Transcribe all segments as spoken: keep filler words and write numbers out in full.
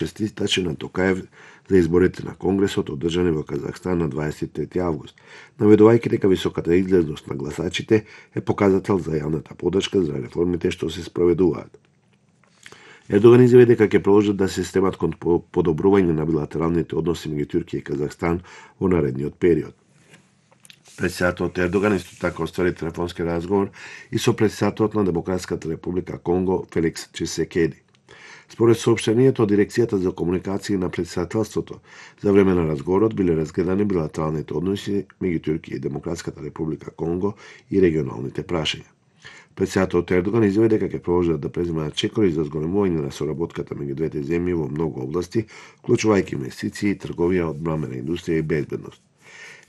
честитачи на Токаев за изборите на Конгресот одржани во Казахстан на дваесет и трети август, наведувајќи дека високата излезност на гласачите е показател за јавната поддршка за реформите што се спроведуваат. Ердоган изјави дека ќе продолжат да се стремат кон подобрување на билатералните односи меѓу Туркија и Казахстан во наредниот период. Председателот Ердоган исто така оствари телефонски разговор и со председателот на Демократската република Конго Феликс Чисекеди. Според соопштението од Дирекцијата за комуникации на председателството, за време на разговорот биле разгледани билатералните односи меѓу Туркија и Демократската република Конго и регионалните прашања. Председателот Ердоган изјави дека ќе продолжат да преземаат чекори за зголемување на соработката меѓу двете земји во многу области, вклучувајќи инвестиции, трговија, одбранбена индустрија и безбедност.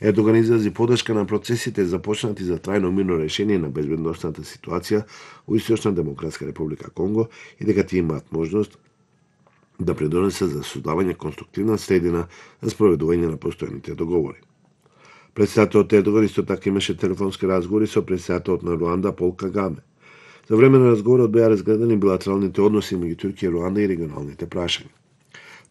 Ердоган изрази поддршка на процесите започнати за трајно мирно решение на безбедносната ситуација во Источна Демократска република Конго и дека тие имаат можност да придонесат за создавање конструктивна средина за спроведување на постојаните договори. Председателот Ердоган исто така имаше телефонски разговори со председателот на Руанда Пол Кагаме. За време на разговорот беа разгледани билатералните односи меѓу Туркија и Руанда и регионалните прашања.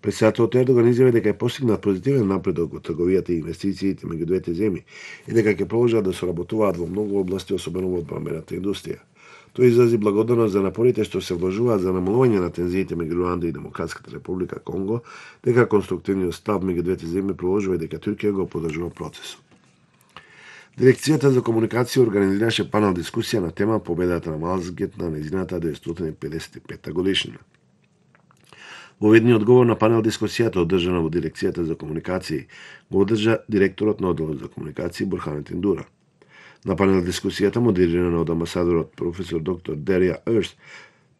Председателот Ердоган изјави дека е постигнат позитивен напредок во трговијата и инвестициите меѓу двете земји и дека ќе продолжат да соработуваат во многу области, особено во одбранбената индустрија. Тој изрази благодарност за напорите што се вложуваат за намалување на тензиите меѓу Руанда и Демократската република Конго, дека конструктивниот став меѓу двете земји продолжува и дека Туркија го поддржува процесот. Дирекцијата за комуникација организираше панел дискусија на тема победата на Малазгет на нејзината деветстотини и педесет и пета годишнина. Во ведниот одговор на панел дискусијата одржана во Дирекцијата за комуникации го одржа директорот на одделот за комуникации Бурханетин Дура. На панел дискусијата модерирана од амбасадорот професор доктор Дерија Ерст,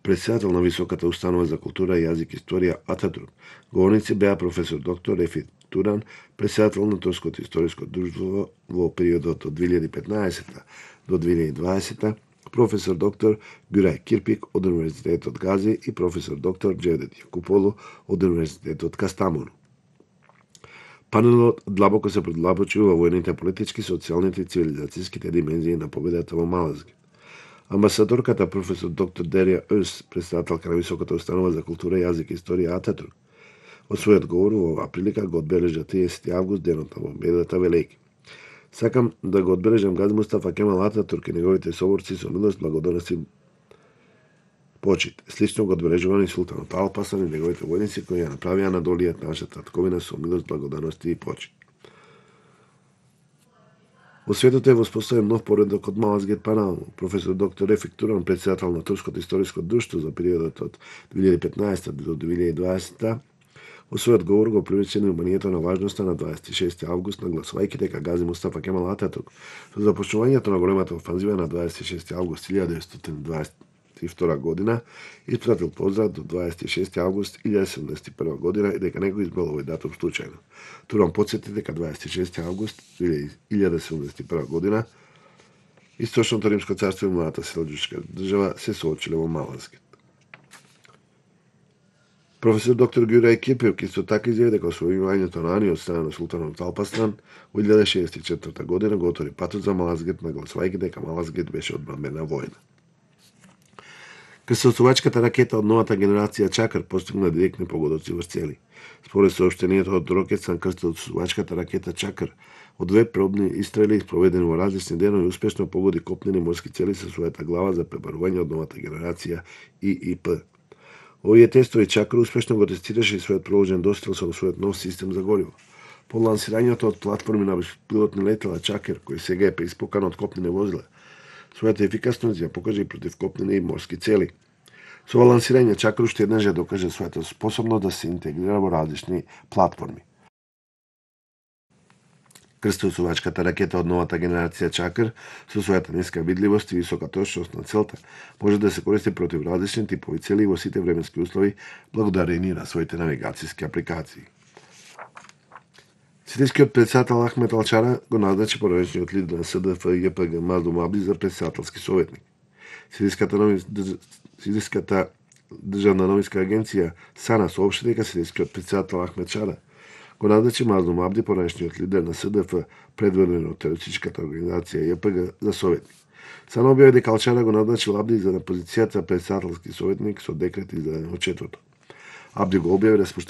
председател на Високата установа за култура и јазик и историја Ататурк. Говорници беа професор доктор Рефит Туран, председател на Турското историско друштво во периодот од две илјади и петнаесета до две илјади и дваесета, професор доктор Гюрај Кирпик од Универзитетот Гази и професор доктор Джевдет Јакуполу од Универзитетот Кастамону. Панелот длабоко се предлабочи во војните, политички, социјалните и цивилизацијските димензии на победата во Малазгет. Амбасадорката професор доктор Дерија Ерст, председателка на Високата установа за култура, јазик и историја Ататурк, во својот говор во оваа прилика го одбележа триесети август, денот на победата велејќи. Сакам да го одбележам Гази Мустафа Кемал Ататурк и неговите соборци со милост, благодарност и почит. Слично го одбележувани султанот Алпасан и неговите војници кои ја направија на долијат нашата татковина со милост, благодарност и почит. Во светот е воспоставен нов поредок од Малазгет панел. Професор доктор Рефик Туран, председател на Турското историско друштво за периодот од две илјади и петнаесета до две илјади и дваесета, во својот говор го привлече вниманието на важноста на дваесет и шести август, нагласувајќи дека Гази Мустафа Кемал Ататурк со започнувањето на големата офанзива на дваесет и шести август илјада деветстотини дваесет и втора година испратил поздрав до дваесет и шести август илјада седумдесет и прва година и дека не го избрал овој датум случајно. Туран потсети дека дваесет и шести август илјада седумдесет и прва година Источното Римско царство и младата селџучка држава се соочиле во Малазгет. Професор доктор Гюрај Кирпик исто така изјави дека освојувањето на Ани од страна на султанот Алпасан во илјада шеесет и четврта година го отвори патот за Малазгет, нагласувајќи дека Малазгет беше одбранбена војна. Крстосувачката ракета од новата генерација Чакр постигна директни погодоци во цели. Според соопштението од Рокетсан, крстосувачката ракета Чакр од две пробни истрели спроведени во различни денови успешно погоди копнени морски цели со својата глава за пребарување од новата генерација И И П. Овие тестови Чакр успешно го тестираше и својот проложен дострел со својот нов систем за гориво. По лансирањето од платформи на беспилотни летела Чакр, кој сега е преиспокан од копнени возила, својата ефикасност ја покажа и против копнени и морски цели. Со ова лансирање Чакр уште еднаш ја докаже својата способност да се интегрира во различни платформи. Крстосувачката ракета од новата генерација Чакр со својата ниска видливост и висока точност на целта може да се користи против различни типови цели во сите временски услови благодарение на своите навигацијски апликации. Сирискиот председател Ахмет Алчара го назначи поранешниот лидер на С Д Ф Ј П Г Маздум Абди за председателски советник. Сириската, нови... Сириската државна новинска агенција САНА соопшти дека сирискиот председател Ахмет Чара го назначи Маздум Абди, поранешниот лидер на С Д Ф, предводен од терористичката организација Ј П Г, за советник. САНА објави дека Алчара го назначил Абди за на позицијата председателски советник со декрет издаден во четврток. Абди го објави распуштање